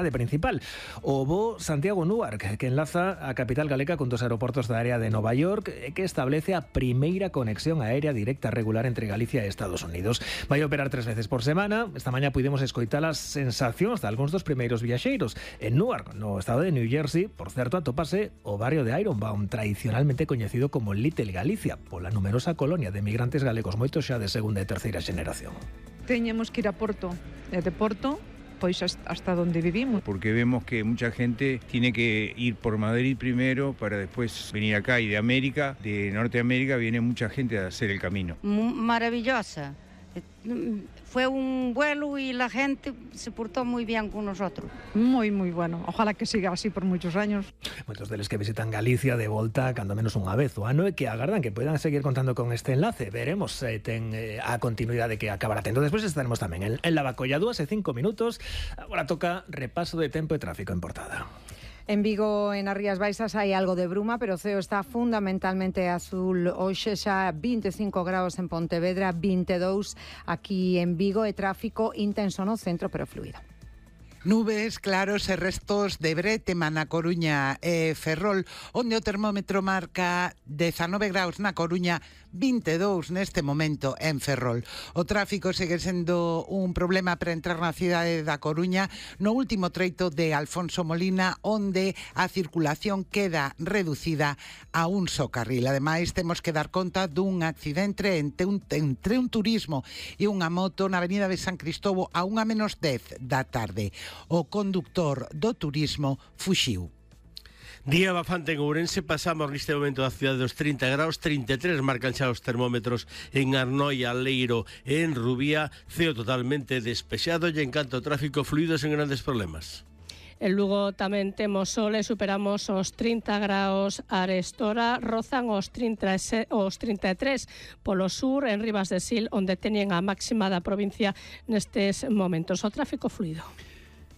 de principal. O bo Santiago-Newark, que enlaza a capital galega con dos aeroportos da área de Nova York, que establece a primeira conexión aérea directa regular entre Galicia e Estados Unidos. Vai operar 3 veces por semana. Esta mañá pudimos escoitar as sensacións de algúns dos primeiros viaxeiros. En Newark, no estado de New Jersey, por certo, atopase o barrio de Ironbound, tradicionalmente coñecido como Little Galicia, pola numerosa colonia de migrantes galegos, moitos xa de segunda e terceira xeneración. Teñemos que ir a Porto, e de Porto pois hasta donde vivimos. Porque vemos que mucha gente tiene que ir por Madrid primero para después venir acá, y de América, de Norteamérica, viene mucha gente a hacer el camino. Maravillosa. Fue un vuelo y la gente se portó muy bien con nosotros. Muy, muy bueno. Ojalá que siga así por muchos años. Moitos deles que visitan Galicia de volta cando menos unha vez o ano e que agardan que poidan seguir contando con este enlace. Veremos ten a continuidade que acabará tendo. Despois estaremos tamén en Lavacolla, 2:05. Agora toca repaso de tempo e tráfico en Portada. En Vigo, en as Rías Baixas, hai algo de bruma, pero o ceo está fundamentalmente azul. Hoxe xa 25 graus en Pontevedra, 22 aquí en Vigo, e tráfico intenso no centro, pero fluido. Nubes, claros e restos de bretema na Coruña e Ferrol, onde o termómetro marca 19 graus na Coruña, 22 neste momento en Ferrol. O tráfico segue sendo un problema para entrar na cidade da Coruña no último treito de Alfonso Molina, onde a circulación queda reducida a un só carril. Ademais, temos que dar conta dun accidente entre un turismo e unha moto na avenida de San Cristobo a 1:10 da tarde. O conductor do turismo fuxiu. Día bafante en Ourense, pasamos neste momento da cidade dos 30 graus, 33 marcan xa os termómetros en Arnoia, Leiro e en Rubía, ceo totalmente despexado e en canto ao tráfico fluido sen grandes problemas. En Lugo tamén temos sol e superamos os 30 graus. Arestora rozan os 33 polo sur, en Ribas de Sil, onde teñen a máxima da provincia nestes momentos. O tráfico fluido.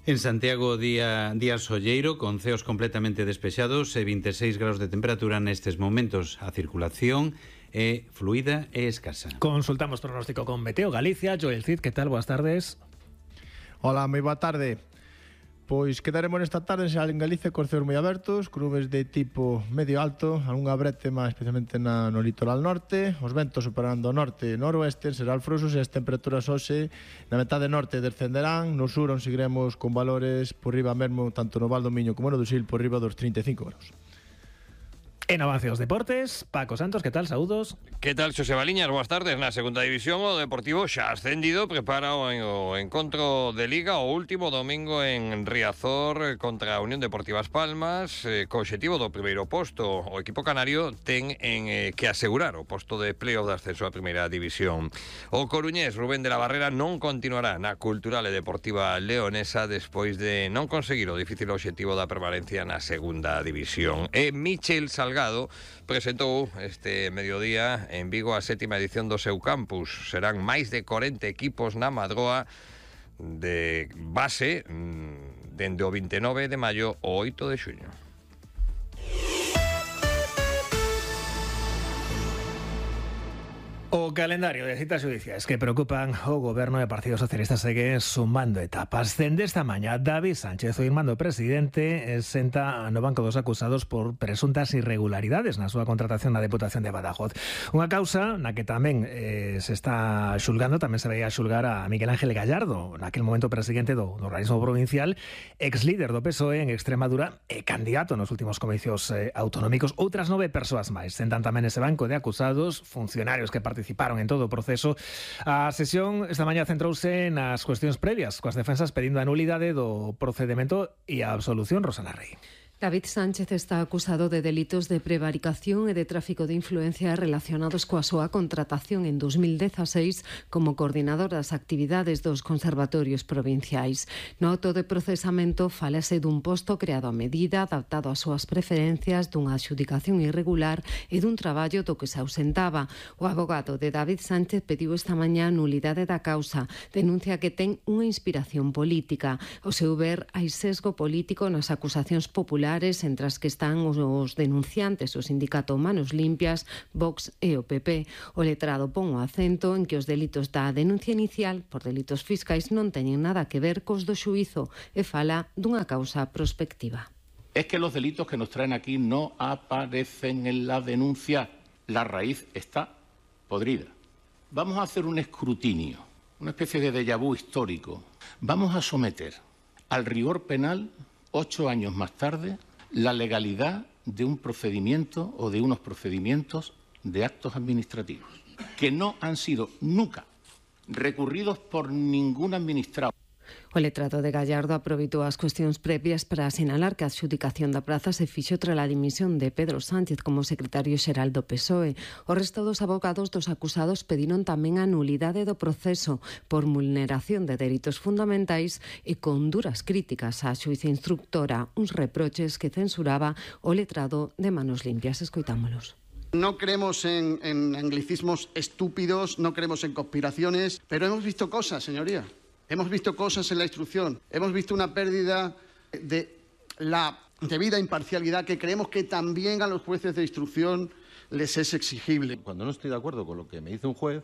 En Santiago, día solleiro, con ceos completamente despexados e 26 graus de temperatura nestes momentos. A circulación é fluida e escasa. Consultamos pronóstico con Meteo Galicia. Joel Cid, que tal? Boas tardes. Hola, moi boa tarde. Pois quedaremos nesta tarde xa en Galicia cos ceos moi abertos, nubes de tipo medio alto, algunha brétema especialmente no litoral norte, os ventos superando o norte e noroeste, serán frouxos e as temperaturas hoxe na metade norte descenderán, no sur onde seguiremos con valores por riba mesmo, tanto no Val do Miño como no do Sil, por riba dos 35 graus. En avance os deportes, Paco Santos, que tal? Saúdos. Que tal, Xosé Baliñas? Boas tardes. Na segunda división o Deportivo xa ascendido, prepara o encontro de Liga o último domingo en Riazor contra a Unión Deportiva As Palmas, co obxectivo do primeiro posto. O equipo canario ten que asegurar o posto de playoff de ascenso á primeira división. O coruñés Rubén de la Barrera non continuará na Cultural e Deportiva Leonesa despois de non conseguir o difícil obxectivo da permanencia na segunda división. E Michel Salgado presentou este mediodía en Vigo a 7ª edición do seu campus. Serán máis de 40 equipos na Madroa de base dende o 29 de maio ao 8 de xuño. O calendario de citas judiciais que preocupan o goberno e Partido Socialista segue sumando etapas. Dende esta mañá, David Sánchez, o irmán do presidente, senta no banco dos acusados por presuntas irregularidades na súa contratación na Deputación de Badajoz. Unha causa na que tamén se está xulgando, tamén se veía xulgar a Miguel Ángel Gallardo, naquel momento presidente do organismo provincial, ex líder do PSOE en Extremadura e candidato nos últimos comicios autonómicos. Outras 9 persoas máis sentan tamén ese banco de acusados, funcionarios que participaron en todo o proceso. A sesión esta mañá centrouse nas cuestións previas, coas defensas pedindo a nulidade do procedemento e a absolución. Rosana Rey. David Sánchez está acusado de delitos de prevaricación e de tráfico de influencia relacionados coa súa contratación en 2016 como coordinador das actividades dos conservatorios provinciais. No auto de procesamento falase dun posto creado a medida, adaptado ás súas preferencias, dunha adxudicación irregular e dun traballo do que se ausentaba. O abogado de David Sánchez pediu esta mañá a nulidade da causa. Denuncia que ten unha inspiración política. O seu ver, hai sesgo político nas acusacións populares populares, entre as que están os denunciantes, o sindicato Manos Limpias, Vox e o PP. O letrado pon o acento en que os delitos da denuncia inicial por delitos fiscais non teñen nada que ver cos do xuízo e fala dunha causa prospectiva. Es que los delitos que nos traen aquí no aparecen en la denuncia. La raíz está podrida. Vamos a hacer un escrutinio, una especie de déjà vu histórico. Vamos a someter al rigor penal, 8 años más tarde, la legalidad de un procedimiento o de unos procedimientos de actos administrativos que no han sido nunca recurridos por ningún administrado. O letrado de Gallardo aproveitou as cuestións previas para sinalar que a adxudicación da praza se fixo tras a dimisión de Pedro Sánchez como secretario xeral do PSOE. O resto dos abogados dos acusados pediron tamén a nulidade do proceso por vulneración de dereitos fundamentais e con duras críticas á xuíza instructora, uns reproches que censuraba o letrado de Manos Limpias. Escoitámolos. No creemos en anglicismos estúpidos, no creemos en conspiraciones, pero hemos visto cosas, señoría. Hemos visto cosas en la instrucción, hemos visto una pérdida de la debida imparcialidad que creemos que también a los jueces de instrucción les es exigible. Cuando no estoy de acuerdo con lo que me dice un juez,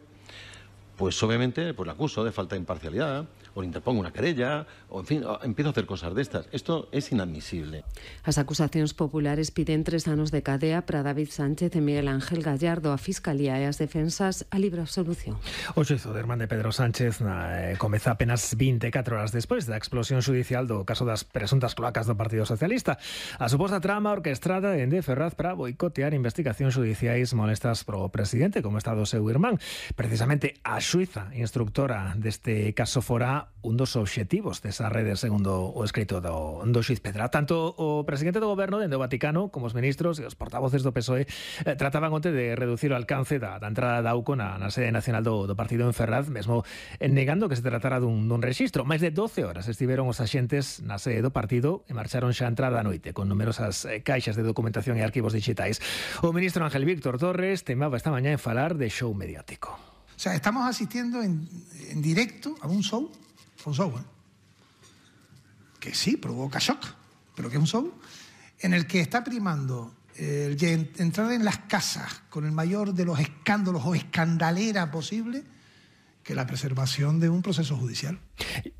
pues obviamente pues le acuso de falta de imparcialidad, o le interpongo una querella, o en fin, empiezo a hacer cosas de estas. Esto es inadmisible. As acusacións populares piden 3 anos de cadea para David Sánchez e Miguel Ángel Gallardo. A Fiscalía e as defensas a libre absolución. O xuízo de irmán de Pedro Sánchez comeza apenas 24 horas despois da explosión judicial do caso das presuntas cloacas do Partido Socialista. A suposta trama orquestrada en de Ferraz para boicotear investigacións judiciais molestas pro presidente, como está do seu irmán. Precisamente a xuíza instructora deste caso fora un dos obxectivos desa rede, segundo o escrito do xuiz Pedra. Tanto o presidente do goberno dende o Vaticano como os ministros e os portavoces do PSOE trataban onte de reducir o alcance da entrada da AUCO na sede nacional do partido en Ferraz, mesmo negando que se tratara dun rexistro. Máis de 12 horas estiveron os axentes na sede do partido e marcharon xa a entrada a noite con numerosas caixas de documentación e arquivos digitais. O ministro Ángel Víctor Torres temaba esta mañá en falar de show mediático. O sea, estamos asistiendo en directo a un show, que sí, provoca shock, pero que es un show en el que está primando entrar en las casas con el mayor de los escándalos o escandalera posible que la preservación de un proceso judicial.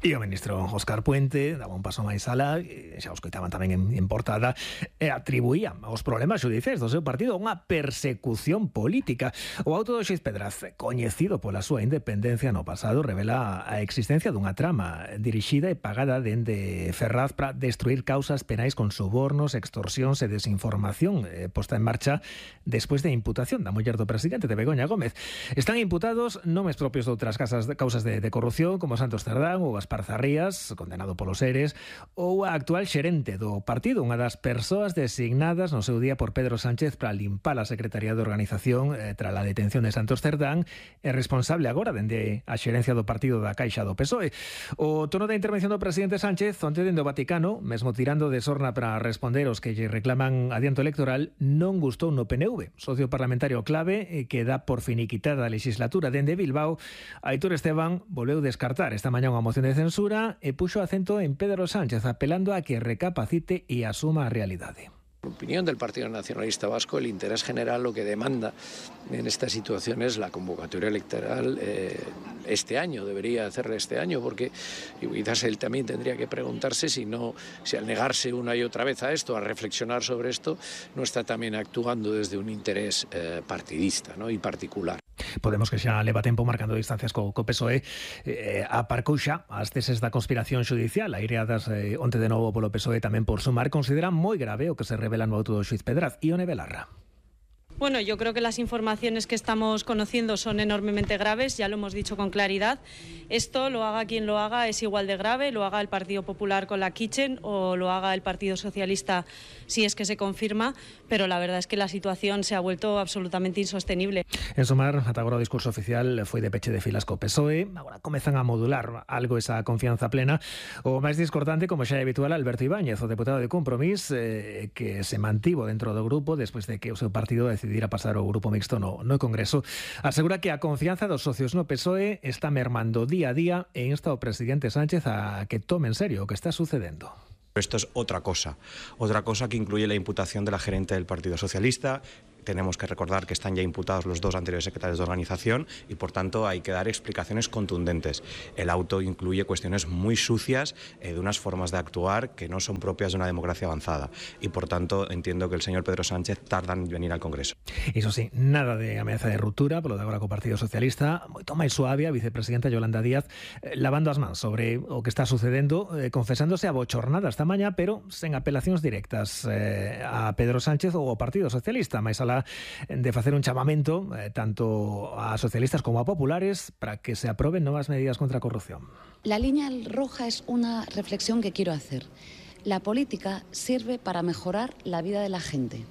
E o ministro Óscar Puente daba un paso máis alá, xa os coitaban tamén en portada, e atribuía aos problemas judiciais do seu partido unha persecución política. O auto do xuiz Pedraz, coñecido pola súa independencia no pasado, revela a existencia dunha trama dirixida e pagada dende Ferraz para destruir causas penais con sobornos, extorsións e desinformación posta en marcha despois de imputación da muller do presidente, de Begoña Gómez. Están imputados nomes propios de outras causas de corrupción, como Santos Cerdán ou Gaspar Zarrías, condenado polos eres, ou a actual xerente do partido, unha das persoas designadas no seu día por Pedro Sánchez para limpar a Secretaría de Organización tras a detención de Santos Cerdán, e responsable agora dende a xerencia do partido da Caixa do PSOE. O tono da intervención do presidente Sánchez onte dende o Vaticano, mesmo tirando de sorna para responder os que lle reclaman adianto electoral, non gustou no PNV, socio parlamentario clave que dá por finiquitada a legislatura. Dende Bilbao, Aitor Esteban volveu descartar esta mañá unha moción de censura e puxo acento en Pedro Sánchez, apelando a que recapacite e asuma a realidade. En opinión del Partido Nacionalista Vasco, el interés general lo que demanda en esta situación es la convocatoria electoral este año, debería hacerla este año, porque quizás él también tendría que preguntarse si al negarse una y otra vez a esto, a reflexionar sobre esto, no está también actuando desde un interés partidista, ¿no?, y particular. Podemos que xa leva tempo marcando distancias co PSOE, aparcou xa as teses da conspiración judicial aireadas onte de novo polo PSOE tamén por sumar. Considera moi grave o que se revela no auto do xuiz Pedraz. Ione Belarra. Bueno, yo creo que las informaciones que estamos conociendo son enormemente graves, ya lo hemos dicho con claridad. Esto, lo haga quien lo haga, es igual de grave, lo haga el Partido Popular con la Kitchen o lo haga el Partido Socialista si es que se confirma, pero la verdad es que la situación se ha vuelto absolutamente insostenible. En sumar, ata agora o discurso oficial foi de peche de filas co PSOE, agora comezan a modular algo esa confianza plena. O máis discordante, como xa é habitual, Alberto Ibáñez, o deputado de Compromís, que se mantivo dentro do grupo despois de que o seu partido decidir a pasar ao grupo mixto no Congreso, asegura que a confianza dos socios no PSOE está mermando día a día e insta ao presidente Sánchez a que tome en serio o que está sucedendo. Esto es otra cosa que incluye la imputación de la gerente del Partido Socialista. Tenemos que recordar que están ya imputados los 2 anteriores secretarios de organización y, por tanto, hay que dar explicaciones contundentes. El auto incluye cuestiones muy sucias de unas formas de actuar que no son propias de una democracia avanzada y, por tanto, entiendo que el señor Pedro Sánchez tarda en venir al Congreso. Iso sí, nada de ameaza de ruptura polo de agora co Partido Socialista. Moito máis suave a vicepresidenta Yolanda Díaz lavando as mans sobre o que está sucedendo, confesándose abochornada esta mañá, pero sen apelacións directas a Pedro Sánchez ou ao Partido Socialista, máis alá de facer un chamamento tanto a socialistas como a populares para que se aprueben novas medidas contra a corrupción. La línea roja es una reflexión que quiero hacer. La política sirve para mejorar la vida de la gente.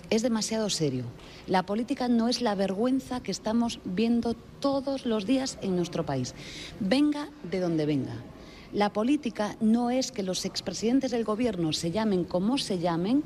Es demasiado serio. La política no es la vergüenza que estamos viendo todos los días en nuestro país. Venga de donde venga. La política no es que los expresidentes del gobierno se llamen como se llamen,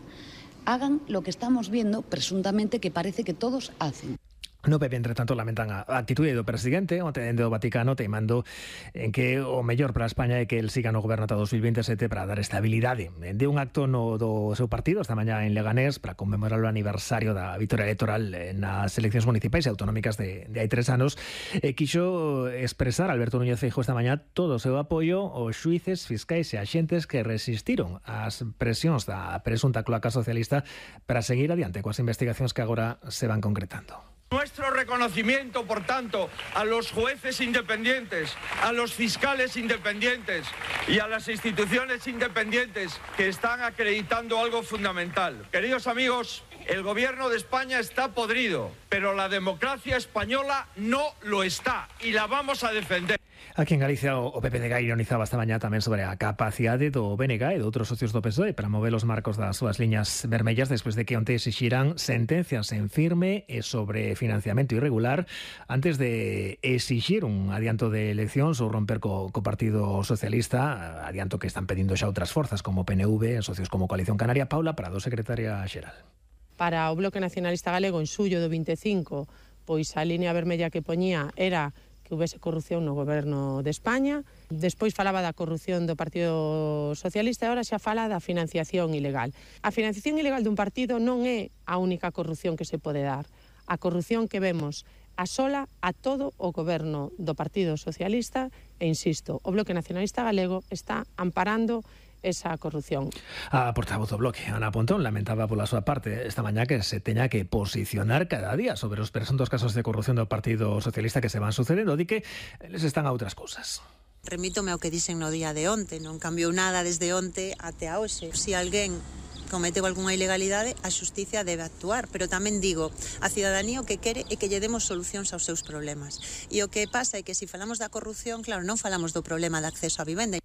hagan lo que estamos viendo, presuntamente, que parece que todos hacen. No PP, entre tanto, lamentan a actitude do presidente onte dende o Vaticano teimando en que o mellor para España é que el siga no goberno ata 2027 para dar estabilidade. De un acto no do seu partido esta mañá en Leganés para conmemorar o aniversario da vitória electoral nas eleccións municipais e autonómicas de hai 3 anos, quixo expresar Alberto Núñez Feijóo esta mañá todo o seu apoio aos xuíces, fiscais e axentes que resistiron ás presións da presunta cloaca socialista para seguir adiante coas investigacións que agora se van concretando. Nuestro reconocimiento, por tanto, a los jueces independientes, a los fiscales independientes y a las instituciones independientes que están acreditando algo fundamental. Queridos amigos, el gobierno de España está podrido, pero la democracia española no lo está y la vamos a defender. Aquí en Galicia o PP de Gai ironizaba esta mañá tamén sobre a capacidade do BNG e de outros socios do PSOE para mover os marcos das súas liñas vermellas despois de que onte exixiran sentencias en firme e sobre financiamento irregular antes de exixir un adianto de eleccións ou romper co Partido Socialista, adianto que están pedindo xa outras forzas como PNV, socios como Coalición Canaria. Paula Prado, secretaria xeral. Para o Bloque Nacionalista Galego en xullo do 25, pois a liña vermella que poñía era que houvese corrupción no goberno de España. Despois falaba da corrupción do Partido Socialista e agora xa fala da financiación ilegal. A financiación ilegal dun partido non é a única corrupción que se pode dar. A corrupción que vemos asola a todo o goberno do Partido Socialista e, insisto, o Bloque Nacionalista Galego está amparando esa corrupción. A portavoz do Bloque, Ana Pontón, lamentaba pola súa parte esta mañá que se teña que posicionar cada día sobre os presuntos casos de corrupción do Partido Socialista que se van sucedendo, di que les están a outras cousas. Remítome ao que dixen no día de onte, non cambiou nada desde onte até a hoxe. Se alguén cometeu algunha ilegalidade, a xusticia debe actuar, pero tamén digo, a cidadanía o que quere é que lle demos solucións aos seus problemas. E o que pasa é que se falamos da corrupción, claro, non falamos do problema de acceso á vivenda.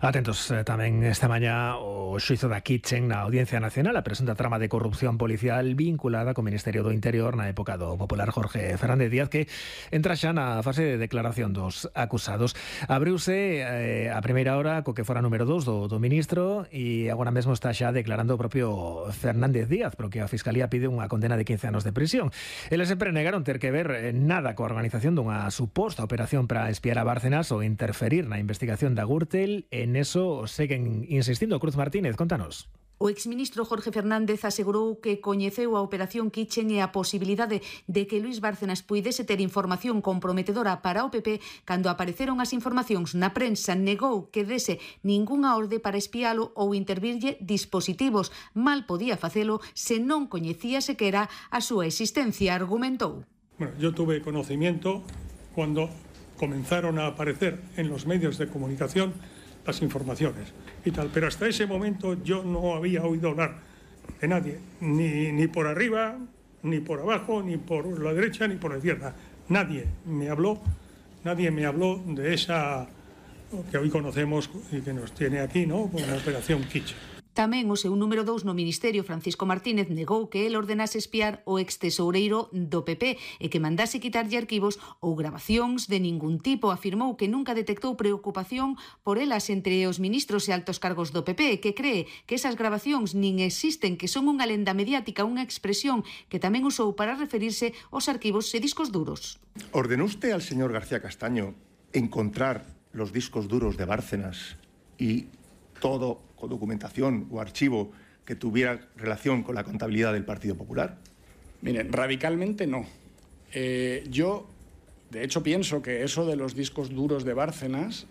Atentos tamén esta mañá o xuizo da Kitchen na Audiencia Nacional, a presunta trama de corrupción policial vinculada co Ministerio do Interior na época do popular Jorge Fernández Díaz, que entra xa na fase de declaración dos acusados. Abriuse a primeira hora co que fora número 2 do ministro e agora mesmo está xa declarando o propio Fernández Díaz, porque a Fiscalía pide unha condena de 15 anos de prisión. Eles sempre negaron ter que ver nada coa organización dunha suposta operación para espiar a Bárcenas ou interferir na investigación da Gürtel. En eso seguen insistindo. Cruz Martínez, contanos. O exministro Jorge Fernández asegurou que coñeceu a operación Kitchen e a posibilidade de que Luís Bárcenas puidese ter información comprometedora para o PP cando apareceron as informacións na prensa. Negou que dese ningunha orde para espialo ou intervirlle dispositivos. Mal podía facelo se non coñecía sequera a súa existencia, argumentou. Bueno, yo tuve conocimiento cuando comenzaron a aparecer en los medios de comunicación las informaciones y tal, pero hasta ese momento yo no había oído hablar de nadie, ni por arriba, ni por abajo, ni por la derecha, ni por la izquierda. Nadie me habló de esa que hoy conocemos y que nos tiene aquí, ¿no?, como la operación Kitchen. Tamén o seu número 2 no Ministerio, Francisco Martínez, negou que el ordenase espiar o extesoureiro do PP e que mandase quitarlle arquivos ou grabacións de ningún tipo. Afirmou que nunca detectou preocupación por elas entre os ministros e altos cargos do PP e que cree que esas grabacións nin existen, que son unha lenda mediática, unha expresión que tamén usou para referirse aos arquivos e discos duros. ¿Ordenó usted al señor García Castaño encontrar los discos duros de Bárcenas y todo o documentación o archivo que tuviera relación con la contabilidad del Partido Popular? Miren, radicalmente no. Yo, de hecho, pienso que eso de los discos duros de Bárcenas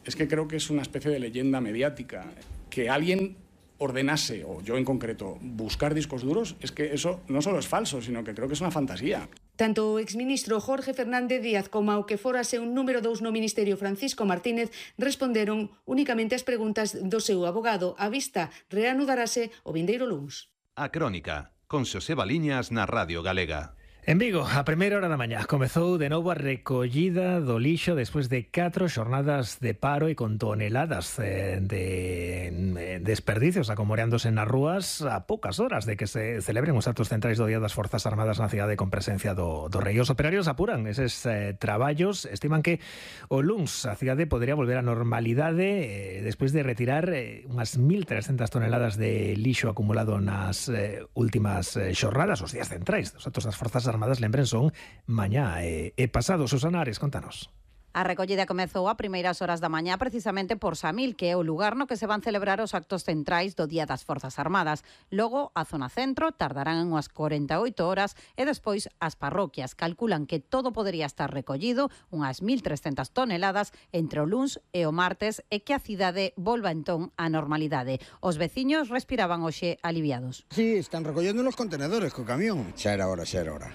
es que creo que es una especie de leyenda mediática. Que alguien ordenase, o yo en concreto, buscar discos duros, es que eso no solo es falso, sino que creo que es una fantasía. Tanto o exministro Jorge Fernández Díaz como ao que fórase un número 2 no Ministerio Francisco Martínez responderon únicamente as preguntas do seu abogado. A vista reanudarase o vindeiro luns. A Crónica, con Xosé Baliñas na Radio Galega. En Vigo, a primeira hora da mañá, comezou de novo a recollida do lixo despois de 4 xornadas de paro e con toneladas de desperdicios acomoreándose nas rúas a poucas horas de que se celebren os actos centrais do Día das Forzas Armadas na cidade con presencia do rei. Os operarios apuran eses traballos, estiman que o luns a cidade podería volver á normalidade despois de retirar unhas 1.300 toneladas de lixo acumulado nas últimas xornadas, os días centrais dos actos das Forzas Armadas, lembren, son mañá e pasado. Susana Ares, contanos. A recollida comezou a primeiras horas da mañá precisamente por Samil, que é o lugar no que se van celebrar os actos centrais do Día das Forzas Armadas. Logo, a zona centro tardarán unhas 48 horas e despois as parroquias calculan que todo podería estar recollido, unhas 1.300 toneladas, entre o luns e o martes e que a cidade volva entón á normalidade. Os veciños respiraban hoxe aliviados. Sí, están recollendo los contenedores co camión. Xa era hora.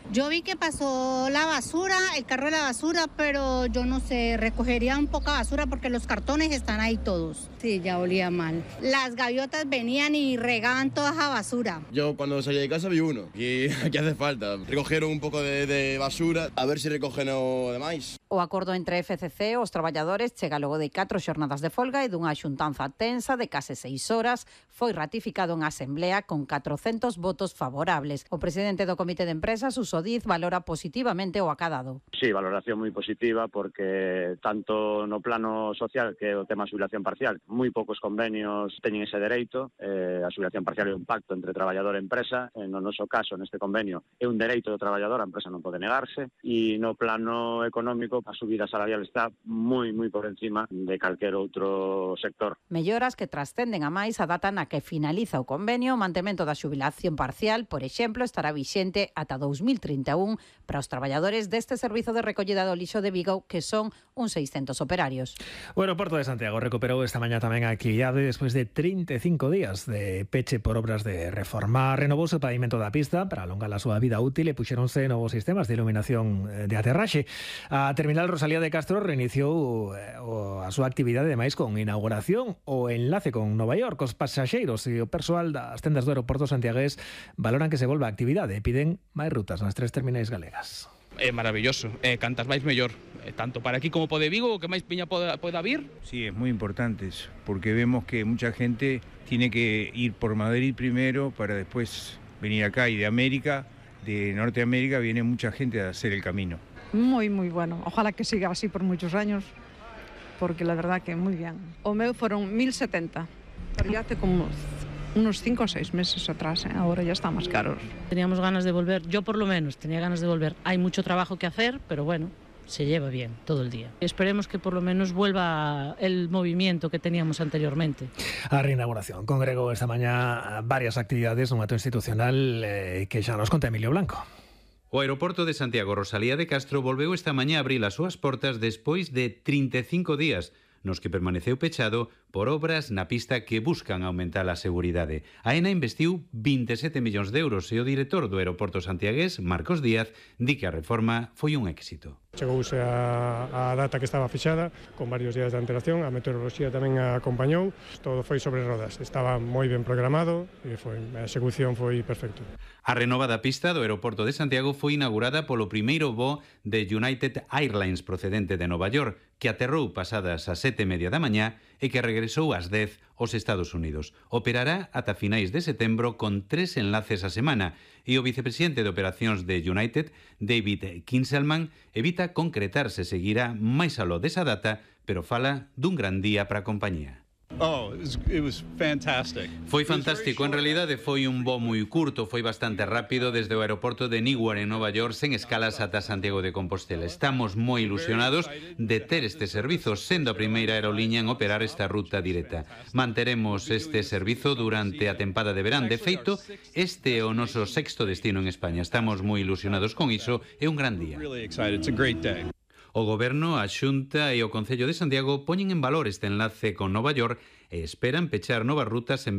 Yo vi que pasó la basura, el carro de la basura, pero yo no se recogería un poca basura porque los cartones están ahí todos. Sí, ya olía mal. Las gaviotas venían y regaban toda esa basura. Yo cuando salí de casa vi uno y aquí hace falta. Recogieron un pouco de basura, a ver se recogen o demais. O acordo entre FCC e os traballadores chega logo de 4 xornadas de folga e dunha xuntanza tensa de case 6 horas. Foi ratificado en asemblea con 400 votos favorables. O presidente do Comité de Empresas, Suso Diz, valora positivamente o acadado. Sí, valoración moi positiva porque tanto no plano social que o tema xubilación parcial, moi poucos convenios teñen ese dereito. A xubilación parcial é un pacto entre traballador e empresa. No noso caso, neste convenio, é un dereito do traballador, a empresa non pode negarse. E no plano económico, a subida salarial está moi por encima de calquer outro sector. Melloras que trascenden a máis a data na que finaliza o convenio. O mantemento da xubilación parcial, por exemplo, estará vixente ata 2031 para os traballadores deste servizo de recollida do lixo de Vigo, que son uns 600 operarios. O aeroporto de Santiago recuperou esta mañá tamén a actividade despois de 35 días de peche por obras de reforma. Renovouse o pavimento da pista para alongar a súa vida útil e puxeronse novos sistemas de iluminación de aterraxe. A terminal Rosalía de Castro reiniciou a súa actividade demais con inauguración o enlace con Nova York. Os pasaxeiros e o persoal das tendas do aeroporto santiagués valoran que se volva a actividade e piden máis rutas nas 3 terminais galegas. É maravilloso, cantas máis mellor, tanto para aquí como pode Vigo, que máis piña poda vir. Sí, es muy importante eso, porque vemos que mucha gente tiene que ir por Madrid primero para después venir acá, y de América, de Norteamérica, viene mucha gente a hacer el camino. Muy bueno, ojalá que siga así por muchos años, porque la verdad que muy bien. O meu fueron 1.070, pero ya hace como unos 5 o 6 meses atrás, ahora ya está más caros. Teníamos ganas de volver, yo por lo menos tenía ganas de volver. Hay mucho trabajo que hacer, pero bueno, se lleva bien todo el día. Esperemos que por lo menos vuelva el movimiento que teníamos anteriormente. A reinauguración congregou esta mañá varias actividades nun acto institucional que xa nos conta Emilio Blanco. O aeroporto de Santiago Rosalía de Castro volveu esta mañá a abrir as súas portas despois de 35 días, nos que permaneceu pechado por obras na pista que buscan aumentar a seguridade. A ENA investiu 27 millóns de euros e o director do aeroporto santiagués, Marcos Díaz, di que a reforma foi un éxito. Chegouse a data que estaba fixada, con varios días de antelación, a meteoroloxía tamén a acompañou, todo foi sobre rodas, estaba moi ben programado e a execución foi perfecto. A renovada pista do aeroporto de Santiago foi inaugurada polo primeiro voo de United Airlines procedente de Nova York, que aterrou pasadas as 7:30 da mañá e que regresou ás 10 aos Estados Unidos. Operará ata finais de setembro con 3 enlaces a semana e o vicepresidente de operacións de United, David Kinselman, evita concretar se seguirá máis aló desa data, pero fala dun gran día para a compañía. Foi fantástico, en realidade foi un voo moi curto, foi bastante rápido desde o aeroporto de Newark en Nova York sen escalas ata Santiago de Compostela. Estamos moi ilusionados de ter este servizo, sendo a primeira aeroliña en operar esta ruta directa. Manteremos este servizo durante a tempada de verán. De feito, este é o noso 6º destino en España. Estamos moi ilusionados con iso, é un gran día. O Goberno, a Xunta e o Concello de Santiago poñen en valor este enlace con Nova York e esperan pechar novas rutas en